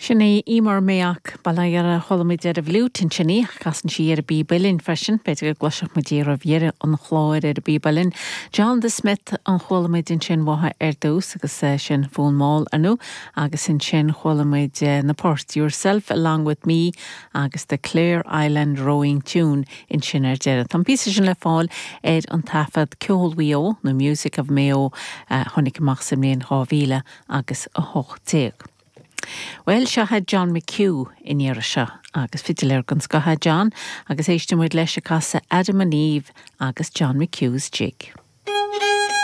Sin í Eimear Mayock, bail ó Dhia uirthi, chuala muid ar an bhfliúit ansin í, ach casann sí ar an bpíb uilleann freisin, b'fhéidir go gcloisfeadh muid í roimh dheireadh an chláir ar an bpíb uilleann. John the Smith an chuala muid ansin uathu ar dtús agus sin Fonn Mall, ar ndóigh, agus ansin chuala muid na poirt Yourself Along With Me agus The Clare Island Rowing Tune ansin ar deireadh. Tá an píosa sin le fáil ar an taifead Ceol Mhaigh Eo nó Music of Mayo a tháinig amach sa mbliain 2000 agus 18. Bhuel, seo é John McHugh an iarraidh seo, agus fidiléir den scoth é John, agus éistfidh muid leis ag casadh Adam and Eve agus John McHugh's Jig.